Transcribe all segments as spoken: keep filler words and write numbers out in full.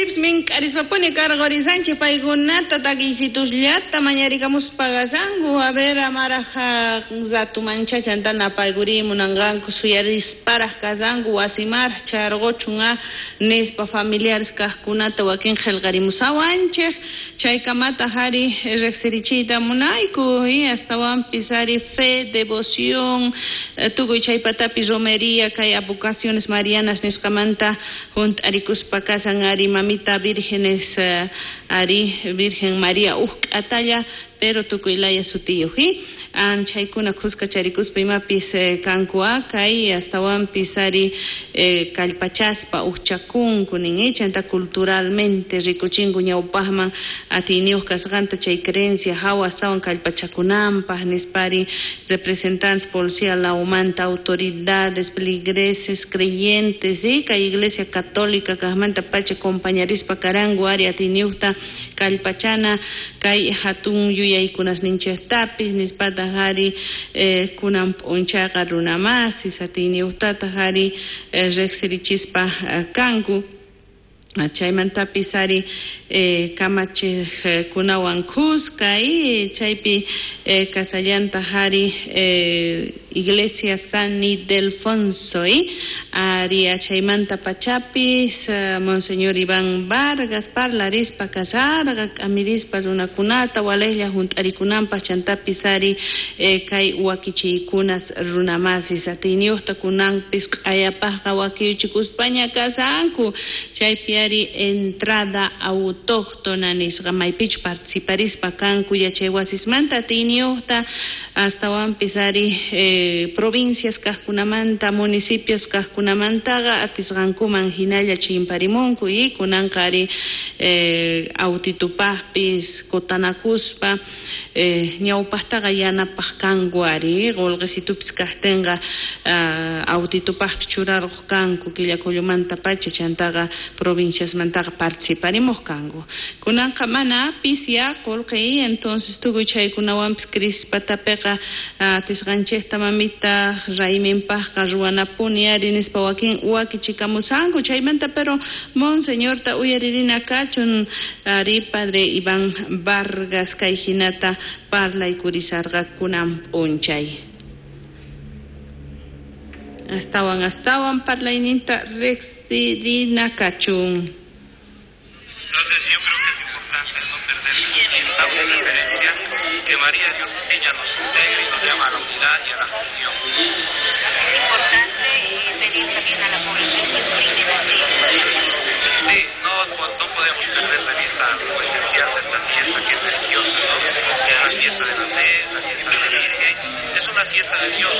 Chaypipis mink'arispapuni karqurisanchik paykunata takiysitusllata mañarikamuspa kasanku. A ver, amaraj ratumancha chanta napaykuri munanqanku suyarisparaj kasanku wasimaraj charquchun a nispa familiares kaqkunata wakin qillqarimusawanchik. Chaykamataq ari riqsirichiyta munayku y astawanpis ari fe, devoción, tukuy chaypatapi romería kay avocaciones marianas nisqamanta hunt'arikuspa kasan ari mamita vírgenes ari Virgen María uj k'atalla pero tukuy laya sutiyuq y chaykuna khuskacharikuspa imapis kanku a kay astawanpis ari kallpachaspa ujchakunku nin chanta culturalmente rikuchinku ñawpaqman atiyniyuq kasqanta chay creencia hawa astawan kallpachakunanpaq nispari representantes policía lawmanta autoridades feligreses creyentes y kay iglesia católica kaqmanta pacha compañarispa karanku ari atiyniyuqta kallpachana kay hatun yuyaykunasninchiktapis nispataq ari kunan p'unchayqa runamasis atiyniyuqtataq ari riqsirichispa kanku. Chaymantapis ari kamachiqkunawan khuska y chaypi kasallantaq ari Iglesia San Ildefonso y ari chaymanta pachapis Monseñor Iván Vargas parlarispa kasarqa k'amirispa runakunata walejlla hunt'arikunanpaq chantapis ari kay wakichiykunas runamasis atiyniyuqta kunanpis q'ayapaqqa wakiyuchikuspaña kasanku chaypi ari entrada autóctona nisqa maypichu participarispa kanku yachaywasismanta atiyniyuqta astawanpis ari eh, provincias kaqkunamanta municipios kaqkunamantaqa atisqankuman hinalla chimparimunku y kunanqa ari eh, autitupaqpis kutanakuspa eh, ñawpaqtaqa yanapaq kanku ari qullqisitupis kaqtinqa uh, autitupaqpis churarquq kanku killakullumanta pacha chantaqa provinciasmantaqa participarimuq kanku kunanqa mana pisya qullqi entonces tukuy chaykunawanpis crispatapiqa atisqanchikta mamita rayminpaqqa ruwanapuni ari nispa wakin wakichikamusanku chaymanta pero monseñorta uyaririna kachun ari padre Iván Vargas kay hinata parlaykurisarqa kunan p'unchay astawan astawan parlayninta riqsirina kachun. Entonces yo creo que es importante no perder esta referencia que María Dios, ella nos integra y nos llama a la unidad y a la comunión. Es importante pedir también a la población que brinde la fe. Sí, no, no podemos perder de vista lo esencial de esta fiesta que es religiosa, ¿no? Es la fiesta de la fe, la fiesta de la Virgen, es una fiesta de Dios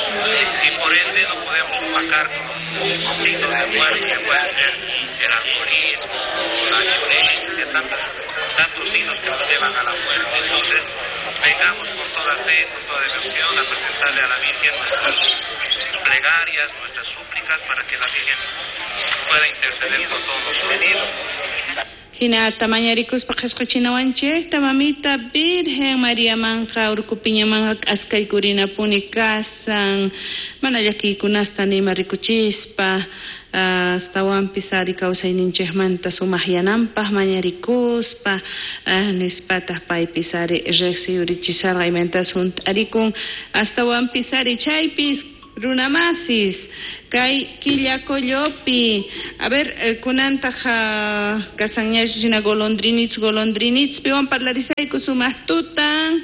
y por ende no podemos opacar con los signos de muerte que pueden ser el alcoholismo, la violencia, tantas, tantos signos que nos llevan a la muerte. Entonces, vengamos con toda fe, con toda devoción a presentarle a la Virgen nuestras plegarias, nuestras súplicas para que la Virgen pueda interceder por todos nosotros. Hinata mañarikuspa qhasqachinawanchikta mamita Virgen María manqa urkupiñamanqa k'askaykurinapuni kasan mana llakiykunasta nima rikuchispa astawanpis ari kawsayninchikmanta sumaqyananpaq mañarikuspa nispataq paypis ari riqsiyurichisarqa imaynatas hunt'arikun astawanpis ari chaypis runamasis kay Quillacollopi. A ver, kunantaq kasanñachu golondrinits golondrinits piwan parlarisayku sumaq tutan.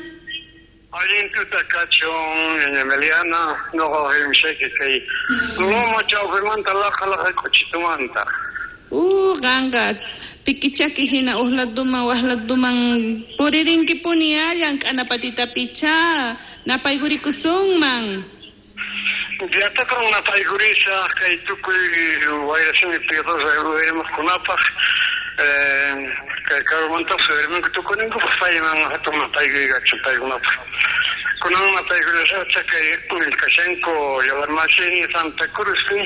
Allin tuta kachun, ñaña Meliana, noqa rimshayki kay loma chawpimanta laqa laqa k'uchitumanta. Uh, qanqa pikichaki hina uqladuman waqladuman puririnkipuni llank'anapatitapicha napaykurikusunman. Llatakan napaykurisa kay tukuy wayrasimi piyadosa uyarimuqkunapaq kay karumantapas uyarimunku tukuninkupaq payman hatun napaykuykachu paykunapaq. Kunan napaykurisaqcha kay kashanku Yawarmasini Santa Cruzpi,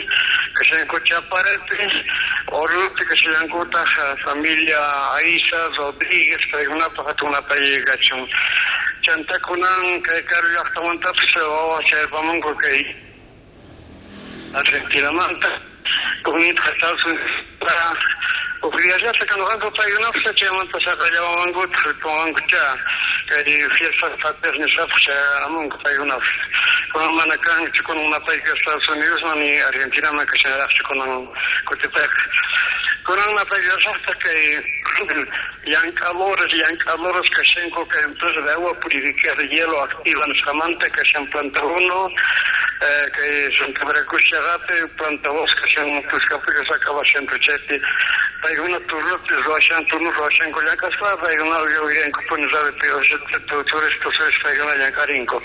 kashanku Chaparepi, Orupi kashallankutaq familia Aiza Rodríguez paykunapaq hatun napaykachun. Chanta kunan kay karu llaqtamantapas wawa chayarpamunku kay Argentinamanta, kunitqa Estados Unidos para Uqllallata kanqanku paykunapaq chaymanta saqallawankuta ripuwankucha kay fiestas patrias nisqapaq chayamunku paykunapaq. Kunan mana kanchu kunan napayku Estados Unidosman ni Argentinaman kashanraqchu kunan kutipayqa. Kunan napaykusaqta kay llank'adores llank'adores kashanku kay empresa de agua purificada de hielo activa nisqamanta kashan planta uno kay Santa Veracruz llaqapi planta dos kashan Cuscapi saqabashanku chaypi paykuna turnupi ruwashan turno ruwashanku llank'aspa paykuna uyarinkupuni radiopi turistas paykuna llank'arinku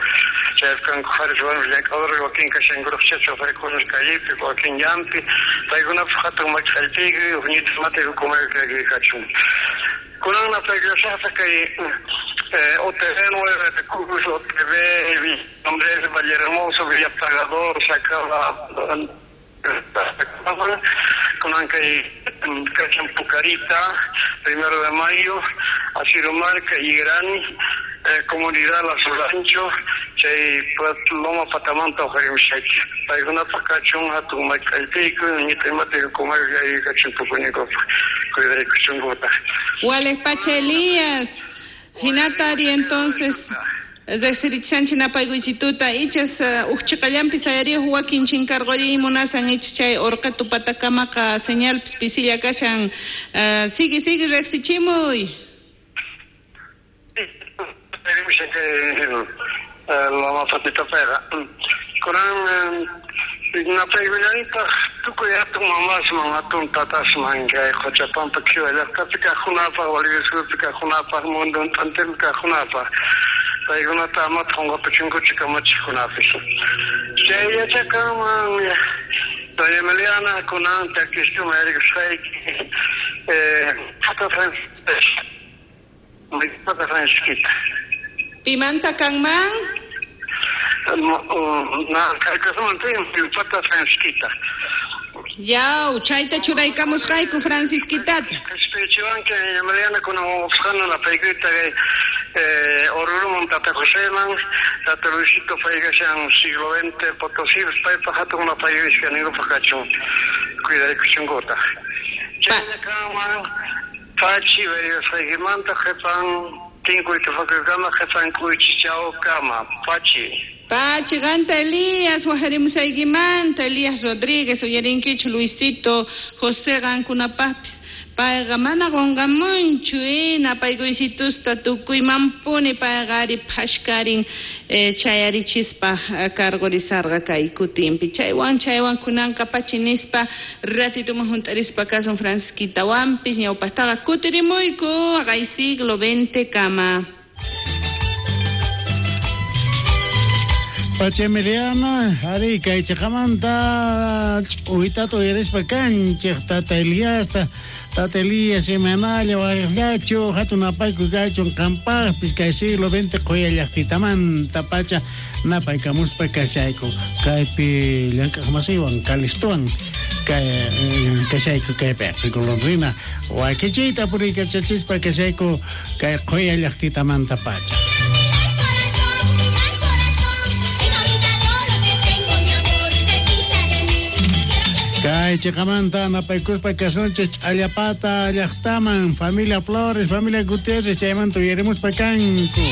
chaypi kanku qharis warmis llank'adores wakin kashankuraq chaypi callepi wakin llampi paykunapaq hatun mach'allpiyku uqñitas matayku kumayku kachun. Kunan napaykusaqta kay O T V nueve de Cruz, O T V Andrés Valle Hermoso, Villa Pagador, Sacaba, kunan kay kashan Pucarita, Primero de Mayo, Asirumarca, Irán, eh, Comunidad Las Rancho, chay Loma Patamanta uqarimushayki. Paykunapaq kachun hatun mach'allpiyku, ñita imatayku kumayku kachun tukuñinkupaq cuidarikuchunkuta. Wales Pacha Elías, hinatari entonces Resirichanchi napaykuysituta ichas uqchiqallanpi sayariq wakin chinkarquriy munasan ich chay urqatu patakamaqa señalpis pisilla kashan. Uh, sigue sigue riqsichimuy. Loma Patitapayqa. Kunan napaykullanitaq tukuy hatun mamasman hatun tatasman kay Qochapampa Qhiwa llaqtapi kaqkunapaq Bolivia suyupi kaqkunapaq mundo t'antinpi kaqkunapaq paykunata amata qunqapuchunkuchu kamachiqkunapis. Chay yachakanman Doña Emiliana kunan takistuma yarikusqayki Pata Francisca Pata Francisquita. Pimanta kanman? Na, kaykasunman Pata Francisquita. Yaw, chayta churaykamusqayku Francisquitata. Qhispichiwanki Emiliana kunan wawqusqana napaykuyta kay Oruruman Tata Joseman, Tata Luisito paykashan siglo veinte Potosí, paypaq hatun napaykushka ninkupaq kachun cuidarikuchunkuta. Chayna kanman pachi bayasqaykimanta qhipan tinkuy tupakuykama qhipan kuychichawkama pachi. Pachi qanta Elías waqarimusaykimanta Elías Rodríguez uyarinkichu Luisito José qankunapaqpis payqa mana qunqamunchu eh napaykuysitusta tukuymanpuni payqa ari phashkarin eh, chayarichispa karqurisarqa kay kutinpi chaywan chaywan kunanqa pachi nispa ratituman hunt'arispa kasun Francisquitawanpis ñawpaqtaqa kutirimuyku kay siglo veinte kama. Pacha Emiliana, ari kay chiqamanta ch'uytata uyarispa kanchik tata Eliasta, tata Elías imanalla waqllachu hatun napayku kachun qampaqpis kay siglo veinte quya llaqtitamanta pacha napaykamuspa kashayku kaypi llank'aqmasiwan Calistuwan kay kashayku kaypi golondrina wakichiyta puriykachachispa kashayku kay quya llaqtitamanta pacha. Kay chiqamanta napaykuspa kasunchik Ch'allapata llaqtaman familia Flores, familia Gutiérrez chaymanta uyarimuspa kanku.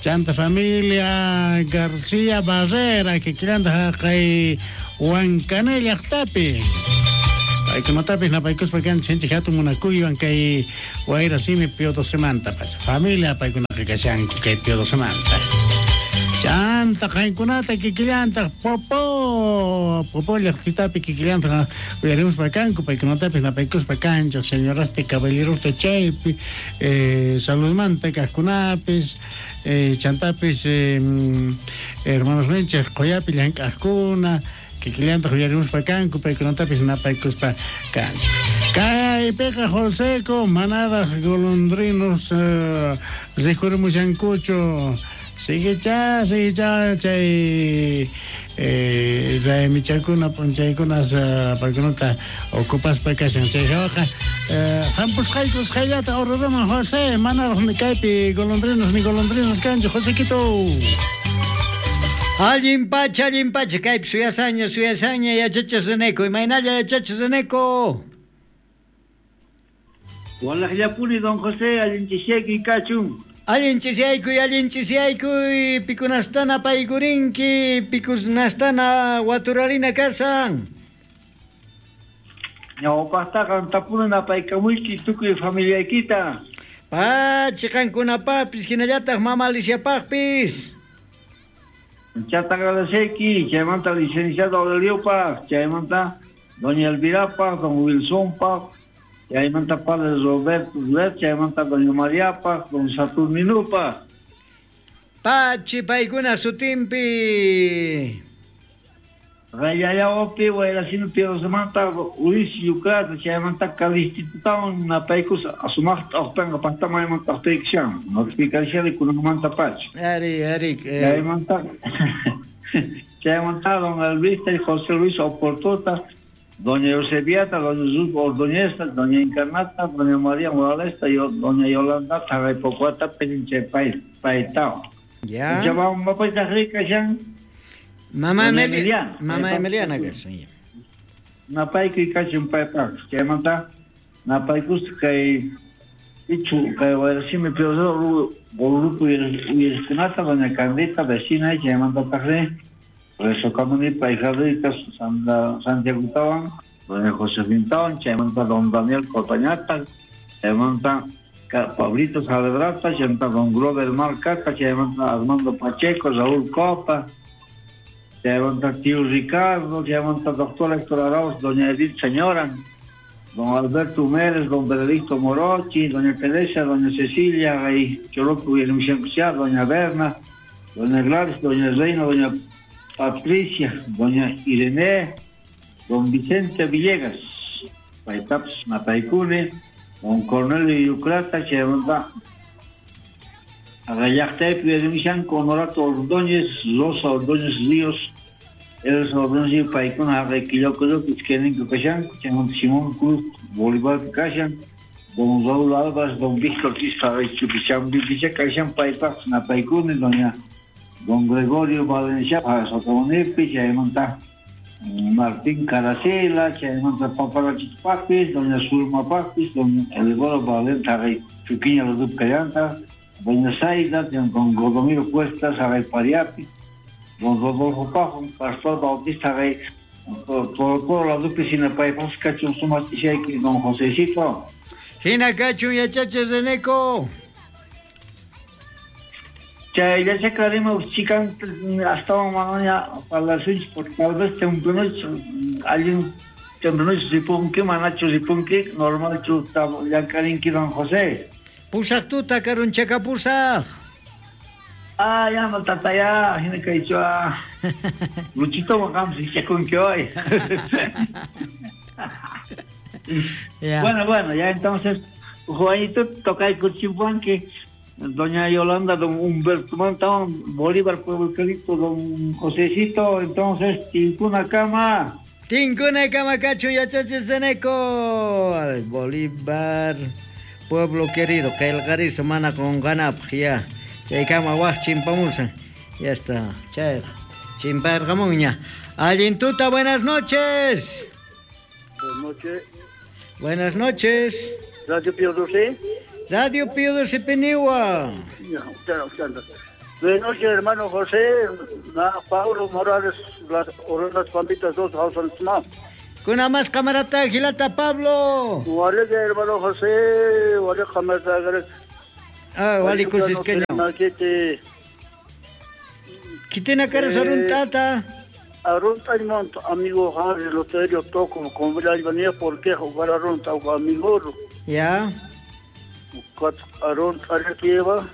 Chanta familia García Barrera kikillanta haqay Huancané llaqtapi. Paykunatapis napaykuspa kanchik hatun munakuywan kay Wayra Simi Pío Docemanta pacha. Familia paykunaqa kashanku kay Pío Docemanta. Chanta qankunata kikillantaq Popo Popo llaqtitapi kikillantaq uyarimuspa kanku paykunatapis napaykuspa kanchik señorasta caballerosta chaypi eh, saludmanta kaqkunapis eh, chantapis eh, hermanos ninchik quyapi llank'aqkuna kikillantaq uyarimuspa kanku paykunatapis napaykuspa kanchik. Kaypiqa Joseco manadaq golondrinos eh, rikurimushankuchu. Sigue cha, sigue cha, chay eh raymichakuna p'unchaykunas paykunata ocupaspa kashan chay hawaqa hampusqayku usqhayllata Oruruman José manaraq ni kaypi golondrinos ni golondrinos kanchu Josequito. Allin pacha, allin pacha, kaypi suyasaña, suyasaña yachachis Reneco, imaynalla yachachis Reneco. Walajllapuni don José, allin chisiyaykuy kachun. Allin chisiyaykuy, allin chisiyaykuy, pikunastana paykurinki, pikunastana waturarina kasan. Ñawpaqtaqa tapuna napaykamuyki tukuy familiaykita. Pachi qankunapaqpis hinallataq mama Aliciapaqpis. Chata agradeceki, chaymanta licenciado Aureliopaq, chaymanta doña Elvirapaq, don Wilsonpaq, chaymanta padre Roberto Duet, chaymanta doña Mariapaq, don Saturnинupaq. Pachi paykuna sutinpi. Rayayaopi, Guayracino Pierrosemanta, Ulises Yucrata, chaymanta Calistitutawan, napaykus asumaqta ojpanqa paqtamaymanta ojpaykishan, notificación kunanmanta pacha. Ari, ari. Eh. Chaymanta, chaymanta don Elvista y José Luis Oportota, doña Eusebiata, doña Ruth Ordoñeza, doña Encarnata, doña María Morales y doña Yolanda, Taraypocuata, Peninche Paitao. Ya. Mamá Mamá Emiliana. Mamá Emiliana que sí. Napaykuy kachun paypaq. Chaymanta napaykus kay ichu kay wayrasimi piozoro grupo uyariqkunata doña Candita vecina chaymanta taqri resokamuni payjadrita Santiagotawan doña Josefintawan chaymanta don Daniel Cotañata chaymanta Pablito Saavedrata chaymanta don Grover Marcata chaymanta Armando Pacheco Raúl Copa chaymanta tío Ricardo, chaymanta doctor Héctor Arauz, doña Edith Señora, don Alberto Mérez, don Benedicto Morochi, doña Teresa, doña Cecilia, y Choroco y doña Berna, doña Gladys, doña Reina, doña Patricia, doña Irene, don Vicente Villegas, Paitaps Mataicune, don Cornelio Yucrata, chaymanta Agallaqtaypi Honorato Ordóñez, Rosa Ordóñez Ríos, Elsa Ordóñez paykuna haqay iskayninku kashanku, chaymanta Simón Cruz Bolívar kashan, don Raúl Álvarez, don Víctor Quispa Chupichambipicha kashan paypaq napaykuni, doña don Gregorio Valencia Sotomunipi, chaymanta Martín Caracela, chaymanta Paparachitpaqpis, doña Zulmapaqpis, don Elgoro Valente haqay Chuquiña Ludup kallanta, doña Zaida, don Godomiro Cuesta, Saray Pariapi, don Rodolfo Pajo, Pastor Bautista Rey, todo la dupi sinapaypas kachun sumaq ishayki don Josecito. Hina kachun yachachi Reneco. Chayllachakarima chikan astawan manaña parlasunchik porque tal vez tempranoch allin tempranoch ripunki manachu ripunki normalchu llank'arinki don José. Pusaq tuta karunchaka pusaq. Ah, ya no tataya, hina kaychua. Luchito qam sichakunki hoy. Bueno, bueno, ya entonces Juanito tocaykuchimpanki doña Yolanda, don Humberto Mantón, Bolívar Pueblo Querido, don Josecito, entonces Tinkuna kama. Tinkuna kama kachun yachachi Zeneco. Bolívar Pueblo querido, qillqariso mana qunqanapaq ya. Chaykama waq chimpamusan. Ya está, chay chimparqamunña. Allin tuta, buenas noches. Buenas noches. Buenas noches. Radio Pío doce. Radio Pío doce Peniwa. Buenas noches, hermano José. Na Paulo Morales, las Orenas Pampitas dos, Hausansma. Kuna más camarata gilata Pablo. Wale hermano José, wale camarata. Ah, wale kusiskeño. Kitina karas aruntata. Arunta amigo Harry Loterio toco con la venía porque jugar arunta amigo. Ya. Arunta lleva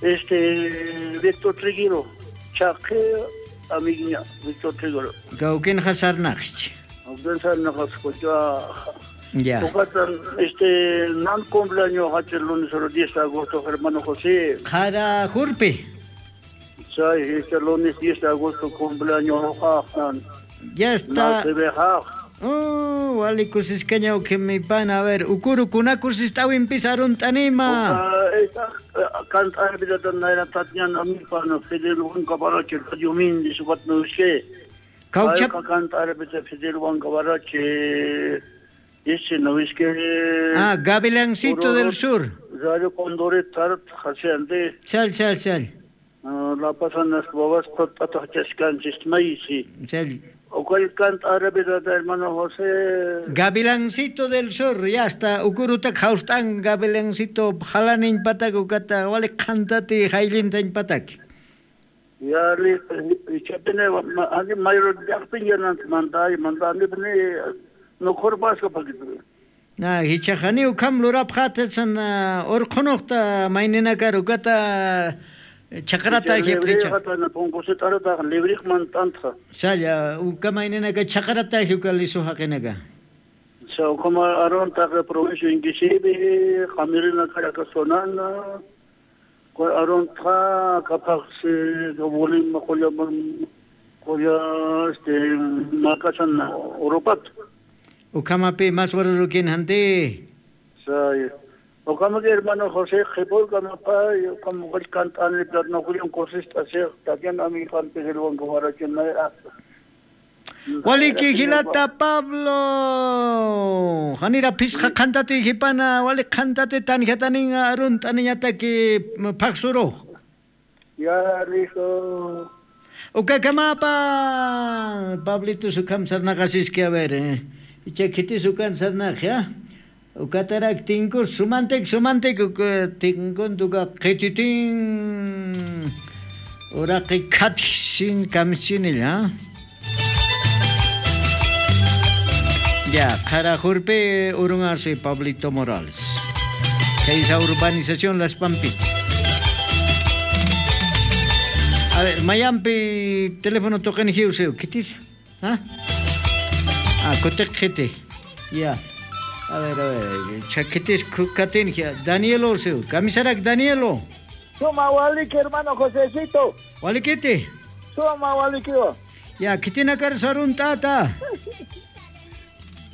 este Víctor Triguero, Chaque amiguiña Víctor Triguero. Gauken hasarnach. Ya. Este, nan cumpleaños el lunes el diez de agosto, hermano José. Jara Jurpi. Sí, este lunes diez de agosto cumpleaños. Ya está. Oh, wali kusiskeña que mi pana, a ver, ukuru kunakus tawin pisarun tanima. Cantar vida tan tatñan mi pana Fidel Huanca Barache, Radio Mindi, subat no sé. Caucha. Cantar vida Fidel Huanca Barache. Ese no es que Ah, Gavilancito del Sur. Radio Condore Tart Hasiande. Chal chal chal. La pasan las babas patachascanchis maíz. Chal. O cual canta árabe hermano José. Gavilancito del Sur, ya está. Ukurutak haustan Gavilancito jalanin patak ukata wale cantati jailintan patak. Ya le chapene ani mayor llaqpiña mandai mandani no corpasco paquito. Na hichajani ukam lurap khatsan orqhunuqta maynina ukata chakrata hipricha. Pongosetarata libriq mantantha. Salla uka maynina ka chakrata hiukalisu haqinaka. So como aron ta provincia ingisibi qamirina karakasonana aron ta capaz bolim qolla qolla este makasan Europat. Ukamapi más warurukin hante. Say. Okama que hermano José Jepol kamapa como el cantante no Julián Cosista se también a mi parte del banco para Waliki hilata Pablo. Hanira pisqa cantati hipana wali cantati tanjatanin arun taniñataki paxuro. Ya listo. Ukakamapa Pablito sukam sarnaqasiski a ver eh. Icha sukan sarnaq ya. Ukatarak tinku sumantek sumantek tinkun tuka qititin uraqi katsin kamsinilla. Ya, Carajurpe, Urungase, Pablito Morales. Esa urbanización Las Pampitas. A ver, Mayampi, teléfono toquen hiuseo, ¿qué dice? ¿Ah? Ah, cotequete. Ya. A ver, a ver, chaquetes cucatengia. Danielo, seu, camisarak Danielo. Suma waliki, hermano Josecito. Waliquete. Suma walikio. Ya, kitinakar sarun tata.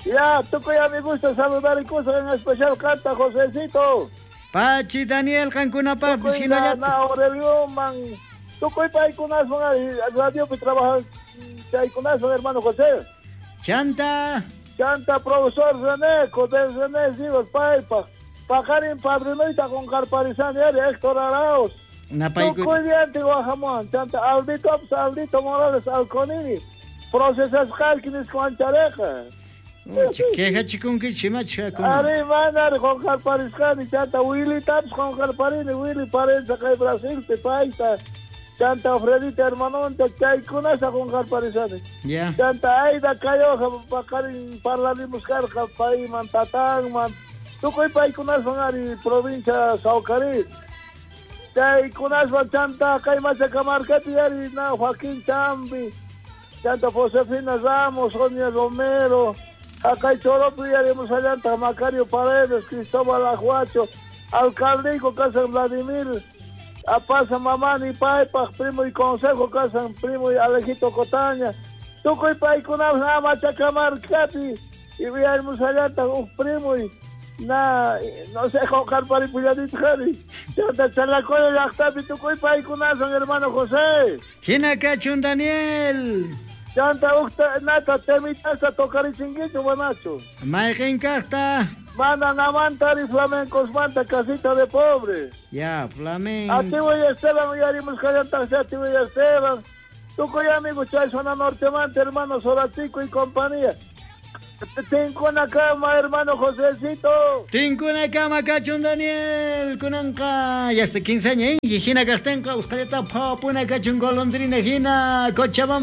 Ya, tukuy a mi gusto saludar y cosa en especial canta Josecito. Pachi Daniel Cancunapa, tukuy na, na Aurelio man. Tukuy paykunas radio pi trabaja chaykunas hermano José. Chanta. Chanta profesor René, Codel René Sivas Paipa. Pajarín Padrinoita con Carparizán y Héctor Arauz. Tukuy diante Guajamón, Chanta Aldito Aldito Morales Alconini. Procesas Jalquinis con Chareja. Queja chikunki chimacha con. Ari manar con Carparizán Chanta Willy Taps con Carparini, Willy Parenza que Brasil te paisa. Chanta Fredita hermanonta chaykunasa con Carparizán. Ya. Chanta Aida Cayoja pakarin parlarimos carja paiman tatangman. Tukuy paykunaswan ari provincia Saucarí. Chaykunaswan chanta kaymacha kamarkati ari na Joaquín Chambi. Chanta Josefina Ramos, Sonia Romero. Acá Choropi yaremos allanta Macario Paredes, Cristóbal Ajuacho, Alcaldico Casa Vladimir, Apasa Mamani Paipa, primo y consejo Casa primo y Alejito Cotaña. Tukuy paykunas na machacamarcati y yaremos allanta un primo y na no sé Carpari Puyadit Jari. Chanta Chalacoyo llaqtapi tukuy paykunasan hermano José. Hinakachun Daniel. Chanta ukta nata temitasa tocarichinguicho buenacho. Mayqin kaqta. Mana namantari flamencos manta casita de pobre. Ya, flamenco. Ativo y Esteban yarimos kallantaqsi Ativo y Esteban. Tukuy amigo chay zona norte manta hermano Soratico y compañía. Tinkuna kama hermano Josecito. Tinkuna kama kachun Daniel kunanqa ya hasta quince años hina kaqtinqa usqallata phawapuna kachun golondrina hina Cochabamba.